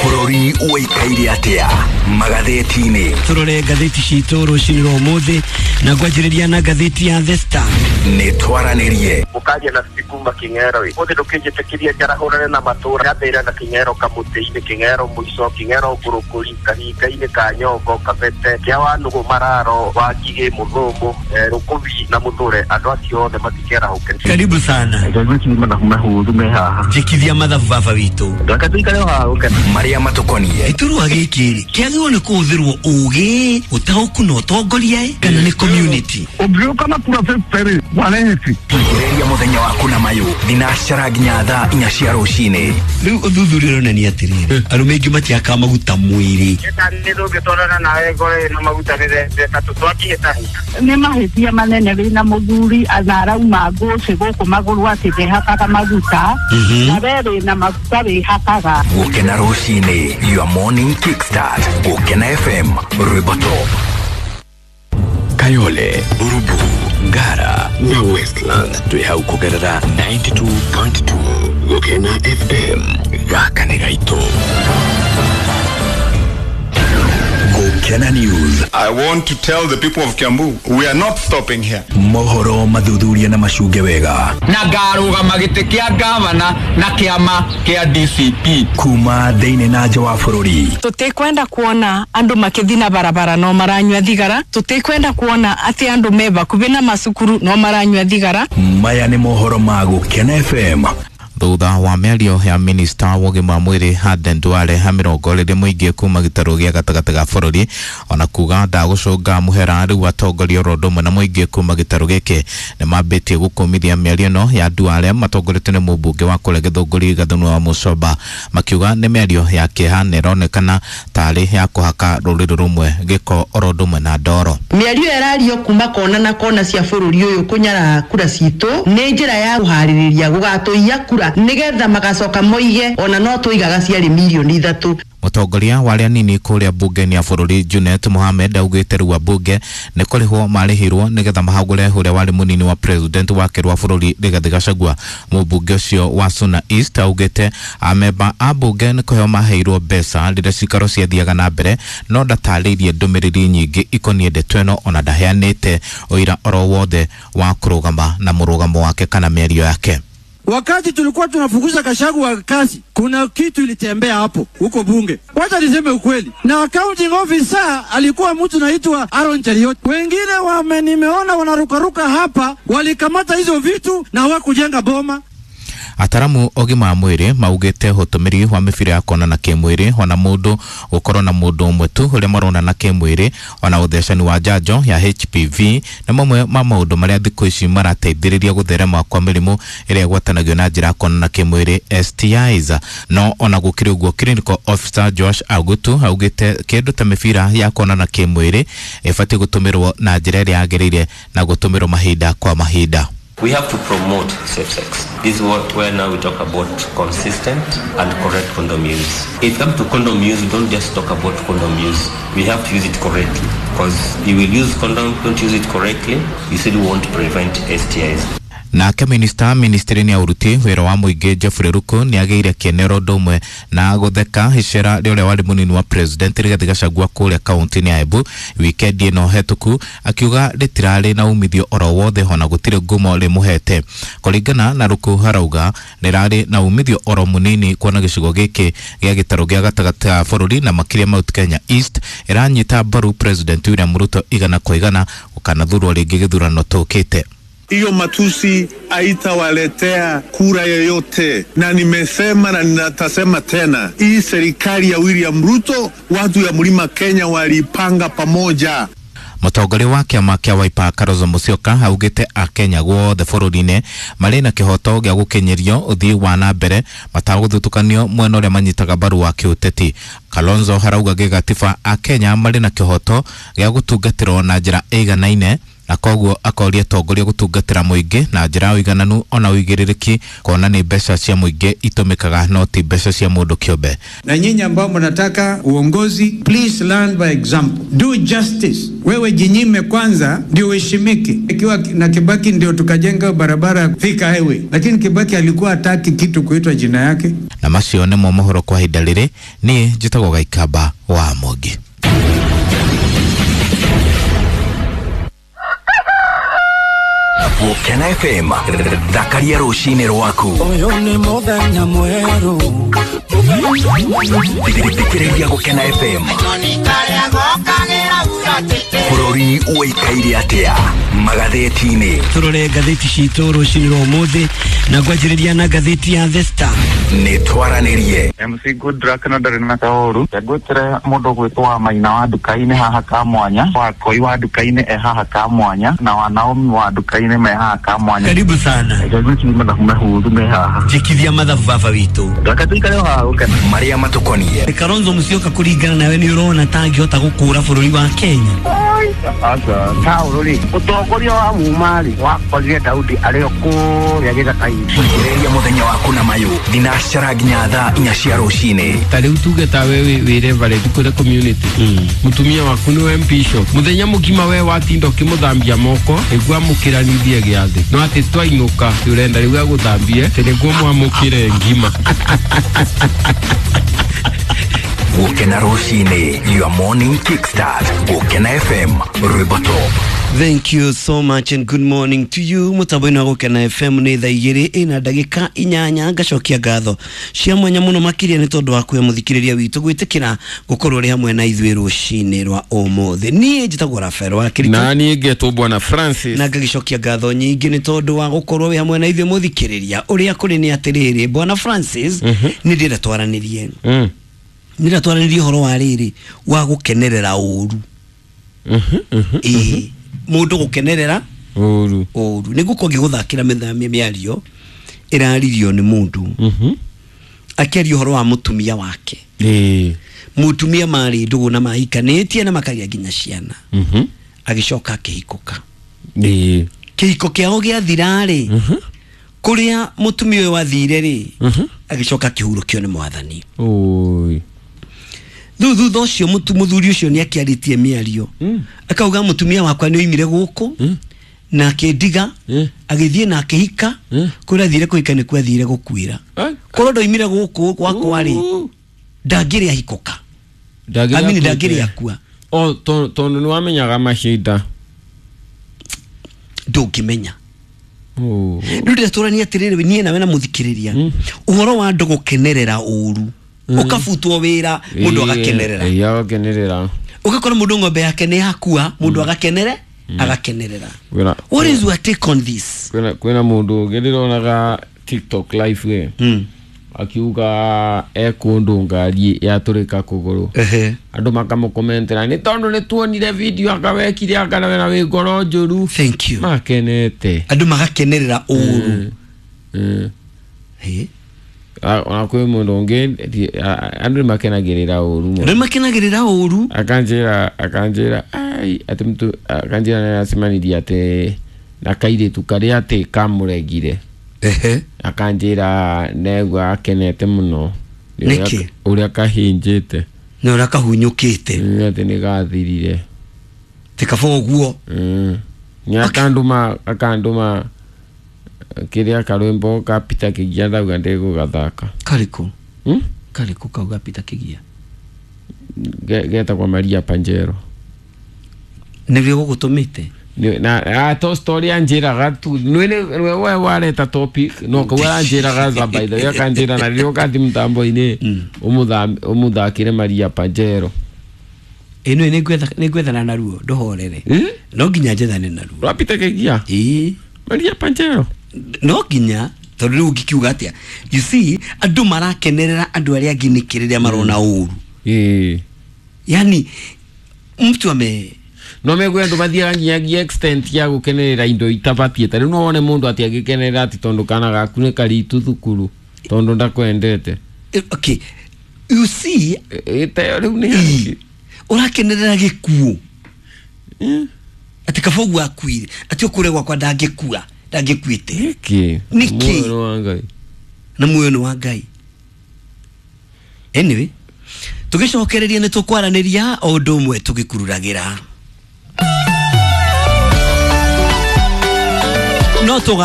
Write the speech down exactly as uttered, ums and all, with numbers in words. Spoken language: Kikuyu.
Bũrũri ũikaire atĩa magathĩti-inĩ? Turore ngathĩti citũ rũcinĩ rwa ũmũthĩ na ngwanjĩrĩria na ngathĩti ya The Star. Nĩ twaranĩrie mũkaria na kuma King'ero ũthĩ ndũkĩnjĩtĩkĩria njarahũrane na matũra gathĩra na King'ero kamũtĩ-inĩ, King'ero mũico, King'ero ngũrũkũri, kahinga-inĩ ka Nyongo, Kabete, kĩa Wanũgũ, Mararo, Wangigĩ, Mũthũngũ, Rũkũbi na Mũthũre, andũ acio othe matikerahũke. Karibu sana. Njĩkithia mathabu baba witũ. Marĩa matũkoniĩ. Gĩturwa gĩkĩ rĩ kĩagĩrĩirwo nĩ kũhũthĩrwo ũgĩ, ũtaũku na ũtongoria kana nĩ community? Ũngĩũka na kura fifty rĩ, wareheti. Ria mũthenya waku na mayũ thinacara nginya thaa inya cia rũcinĩ. Rĩu ũthuthuria ũronania atĩrĩrĩ, arũme aingĩ matiakaga maguta mwĩrĩ. Nĩ mahĩtia manene wĩna mũthuri na arauma ngũcĩ gũkũ magũrũ atĩ ndehakaga maguta, na we wĩna maguta wĩhakaga. Gũkena rũcinĩ, your morning kickstart. Gũkena F M, rwĩmbo top. Kayole, Burubu, Ngara na Westlands twĩ hau kũgerera ninety-two point two Gũkena F M. Gaka nĩ gaitũ. Gũkena News. I want to tell the people of Kiambu, we are not stopping here. Mohoro mathuthuria na macunge wega. Na ngarũgama gĩtĩ kĩa gavana na kĩama kĩa D C P. Kuma thĩinĩ na nja wa bũrũri. Tũtikwenda kuona andũ makĩthi na barabara no maranyua thigara. Tũtikwenda kuona atĩ andũ me bakubi na macukuru no maranyua thigara. Maya nĩ mohoro ma Gũkena F M. Thutha wa mĩario ya minista wa ũgima wa mwĩrĩ Aden Duale ha mĩrongo ĩrĩ mũingĩ kuma gĩtarũ gĩa gatagatĩ ga bũrũri ona kuga ndagũcũnga mũhera rĩu atongoria oro ũndũ ũmwe na mũingĩ kuma gĩtarũ gĩkĩ nĩ mambĩtie gũkũmithia mĩario ĩno ya Duale matongoretio nĩ mũmbunge wa kũrĩa Gĩthũngũri Gathunwa wa Mũcomba makiuga nĩ mĩario ya kĩeha na ĩronekana tarĩ ya kũhaka rũrĩrĩ rũmwe gĩko oro ũndũ ũmwe na ndoro. Mĩario ĩrario kuma kona na kona cia bũrũri ũyũ kũnyarara kura citũ nĩ njĩra ya kũharĩrĩria gũgatũiya kura nigetha magacoka moige ona no tũigaga ciarĩ milioni ithatũ. Mũtongoria wa arĩa anini kũrĩa mbunge-inĩ ya bũrũri Junet Mohamed augĩte rĩu ambunge nĩ kũrĩhwo marĩhirwo nĩgetha mahagũre ũrĩa warĩ mũnini wa president wa kerĩ wa bũrũri Rigathĩ Gachagua. Mũmbunge ũcio wa Suna East augĩte amemba a mbunge nĩ kũheo maheirwo mbeca rĩrĩa cikaro ciathiaga na mbere no ndatarĩirie ndũmĩrĩri nyingĩ ikoniĩ ndeto ĩno ona ndaheanĩte ũira oro wothe wa kũrũgama na mũrũgamo wake kana mĩario yake. Wakati tulikuwa tunafukuza Gachagua kazi, kuna kitu ilitembea hapo huko bunge. Wacha niseme ukweli. Na accounting officer alikuwa mtu naitwa Aaron Cheriot. Wengine wame nimeona wanarukaruka hapa, walikamata hizo vitu na hawakujenga boma. Ataramu ogima wa mwĩrĩ maugĩte ũtũmĩri wa mĩbira ya kuonana kĩmwĩrĩ ona mũndũ gũkorwo na mũndũ ũmwe tu ũrĩa maronana kĩmwĩrĩ ona ũthecani wa njanjo ya H P V nĩ mamwe ma maũndũ marĩa thikũ ici marateithĩrĩria gũtherema kwa mĩrimũ ĩrĩa ĩgwatanagio na njĩra ya kuonana kĩmwĩrĩ S T Is. No ona gũkĩrĩ ũguo clinical officer Josh Agutu augĩte kĩndũ ta mĩbira ya kuonana kĩmwĩrĩ ĩbatiĩ gũtũmĩrwo na njĩra ĩrĩa yagĩrĩire na gũtũmĩrwo mahinda kwa mahinda. We have to promote safe sex. This is what, where now we talk about consistent and correct condom use. If it comes to condom use, we don't just talk about condom use. We have to use it correctly. Because you will use condom, don't use it correctly, you still won't prevent S T Is. Nake minista ministry-inĩ ya ũruti wĩra wa mũingĩ Geoffrey Ruku nĩ agĩire kĩene oro ũndũ ũmwe na gũtheka icera rĩa ũrĩa warĩ mũnini wa president Rigathĩ Gachagua kũrĩa kaunti-inĩ ya Embu wikendi ĩno hetũku akiuga rĩtirarĩ na umithio oro wothe ona gũtirĩ ngumo rĩmũhete. Kũringana na Ruku harauga rĩrarĩ na umithio oro mũnini kuona gĩcigo gĩkĩ gĩa gĩtarũ gĩa gatagatĩ ga bũrũri na makĩria Mount Kenya East ĩranyita mbaru president William Ruto igana kwa igana gũkanathurwo rĩngĩ gĩthurano tũkĩte. Hiyo matusi haitawaletea kura yoyote, na nimesema na ninatasema tena, hii serikali ya William Ruto, watu ya Mlima Kenya walipanga pamoja. Mũtongoria wa kĩama kĩa Wiper Kalonzo Musyoka augĩte Akenya guothe bũrũri-inĩ marĩ na kĩhoto gĩa gũkinyĩrio ũthii wa na mbere matagũthutũkanio mwena ũrĩa manyitaga mbaru wa kĩũteti. Kalonzo harauga gĩgatiba Akenya marĩ na kĩhoto gĩa gũtungatĩrwo na njĩra ĩiganaine Na koguo akoria atongoria gũtungatĩra mũingĩ na njĩra ya ũigananu ona ũigĩrĩrĩki, kuona nĩ mbeca cia mũingĩ itũmĩkaga no ti mbeca cia mũndũ kĩũmbe. Na nyinyi ambao mnataka uongozi, please learn by example. Do justice. Wewe jinyime kwanza ndio uheshimike. Ikiwa na Kibaki ndio tukajenga barabara Thika Highway, lakini Kibaki alikuwa hataki kitu kuitwa jina yake. Na macio nĩmo mohoro kwa ihinda rĩrĩ. Niĩ njĩtagwo Gaikamba wa Mwangi. Gũkena F M, thakaria rũcinĩ rwaku. Ũyũ nĩ mũthenya mwerũ. Thikĩrĩria Gũkena F M. Bũrũri ũikaire atĩa magathĩti-inĩ? Tũrore ngathĩti citũ rũcinĩ rwa ũmũthĩ na ngwanjĩrĩria na ngathĩti ya The Star. Nĩ twaranĩrie. M C Goodluck na ndarĩ na kaũru. Ngwĩtĩre mũndũ gwĩtwo wa Maina wa nduka-inĩ haha ka mwanya, wa Koi wa nduka-inĩ e haha ka mwanya, na wa Naomi wa nduka-inĩ me haha ka mwanya. Karibu sana. Ngwĩtĩre mathabu mahũthũ me haha. Njĩkithia mathabu baba witũ. Reke tũikare o haha Gũkena. Marĩa matũkoniĩ. Kalonzo Musyoka kũringana nawe nĩ ũrona ta angĩhota gũkũra bũrũri wa Kenya? Aca, Saũlũ rĩ, ũtongoria wa muma rĩ, wakorire Daudi arĩ o kũrĩa gĩthaka-inĩ. Thikĩrĩria mũthenya waku na mayũ thinacara nginya thaa inya cia rũcinĩ. Ta rĩu tuge ta we wĩ reverend kũrĩ community, mũtumia waku nĩwe bishop, mũthenya mũgima we watinda ũkĩmũthambia moko nĩguo amũkĩranithie gĩathĩ, no atĩ twainũka ũrenda rĩu agũthambie atĩ nĩguo mwamũkĩre ngima. Gũkena rũcinĩ, your morning kickstart. Gũkena F M, rwĩmbo top. Thank you so much and good morning to you. Mutambo-inĩ wa Gũkena F M nĩ thaa igĩrĩ ĩna ndagĩka inyanya. Ngacokia ngatho cia mwanya mũno makĩria nĩ tondũ wa kuhe mũthikĩrĩria witũ gwĩtĩkĩra gũkorwo ũrĩ hamwe na ithuĩ rũcinĩ rwa ũmũthĩ. Niĩ njĩtagwo Rafael wa Kirito. Na niĩ ngetwo Bwana Francis. Na ngagĩcokia ngatho nyingĩ nĩ tondũ wa gũkorwo wĩ hamwe na ithuĩ mũthikĩrĩria. Ũrĩa kũrĩ nĩ atĩrĩrĩ, Bwana Francis, nĩ ndĩrenda twaranĩrie. Nĩ ndĩrenda twaranĩrie ũhoro wa rĩrĩ wa gũkenerera ũru. Ĩĩ, mũndũ gũkenerera ũru. Ũru. Nĩ ngũkorwo ngĩgũthakĩra mĩthamia mĩario ĩraririo nĩ mũndũ akĩaria ũhoro wa mũtumia wake. Ĩĩ. Mũtumia marĩ ndũgũ na mahikanĩtie na makagĩa nginya ciana. Agĩcoka akĩhikũka. Ĩĩ. Kĩhiko kĩao gĩathira rĩ, kũrĩa mũtumia ũyũ athire rĩ, agĩcoka akĩhurũkio nĩ mwathani. Oi. Rĩu thutha ũcio mũthuri ũcio nĩ akĩarĩtie mĩario akauga mũtumia wakwa nĩ oimire gũkũ na akĩndiga agĩthiĩ na akĩhika, kũrĩa athire kũhika nĩkuo athire gũkuĩra. Korwo ndoimire gũkũ gwakwa rĩ, ndangĩrĩ ahikũka. Amini ndangĩrĩ akua. O tondũ nĩ wamenyaga mahinda. Ndũngĩmenya. Rĩu ndĩratũrania atĩrĩrĩ, niĩ nawe na mũthikĩrĩria ũhoro wa andũ gũkenerera ũru. Ũkabutwo wĩra mũndũ agakenerera. Ĩĩ, agakenerera. Ũgakora mũndũ ng'ombe yake nĩ yakua, mũndũ agakenere, agakenerera. What is your take on this? Kwĩna kwĩna mũndũ ũngĩ ndĩronaga TikTok live we. Akiuga e kũndũ ngari yatũrĩka kũgũrũ. Andũ makamũkomentera nĩ tondũ nĩ tuonire video akawekire akanawe na wĩ ngoro njũru. Thank you. Makenete. Andũ magakenerera ũru. Ĩ. Ona kwĩ mũndũ ũngĩ andũ nĩmakenagĩrĩra ũru mũno. Andũ nĩmakenagĩrĩra ũru. Akanjĩra akanjĩra ai atĩ mtu akanjĩra nĩaracemanirie atĩ na kairĩtu karĩa atĩ kamũregire. Ehe. Akanjĩra negua akenete mũno. Nĩkĩ? Ũrĩa kahinjĩte. Na ũrĩa kahunyũkĩte. Atĩ nĩgathirire. Ti kaba ũguo. Nĩ akandũma akandũma kĩrĩa karwĩmbo ka Peter Kĩgia ndauga ndĩgũgathaka. Karĩkũ? Hmm? Karĩkũ kau ga Peter Kĩgia? Getagwo Maria Panjero. Nĩrĩo gũgũtũmĩte? Na a to story anjĩraga tu nĩ we wareta topic no kau aranjĩraga za by the way akanjĩra na rĩrĩa ũkathi mũtambo-inĩ ũmũthakĩre Maria Panjero. Ĩno nĩ ngwethana naruo ndũhorere. No nginya njethane naruo. Rwa Peter Kĩgia? Ĩĩ. Maria Panjero. No nginya tondũ rĩu ũngĩkiuga atĩa, you see andũ marakenerera andũ arĩa angĩ nĩkĩ rĩrĩa marona ũru. Ĩĩ. Yani mtu ame no megwe andũ mathiaga nginyagia extent ya gũkenerera indo itabatiĩ. Ta rĩu no wone mũndũ atĩ agĩkenerera atĩ tondũ kana gaku nĩ karitu thukuru tondũ ndakwendete. Okay, you see ĩteo rĩu nĩ ũrakenerera gĩkuũ. Atĩ kaba ũguo akuire, atĩ ũkũre gwakwa ndangĩkua, ndangĩkuĩte. Nĩkĩ? Nĩkĩ? Muoyo nĩ wa Ngai. Na muoyo nĩ wa Ngai. Anyway, tũgĩcokereria nĩ tũkwaranĩria o ũndũ ũmwe tũgĩkururagĩra. No tũga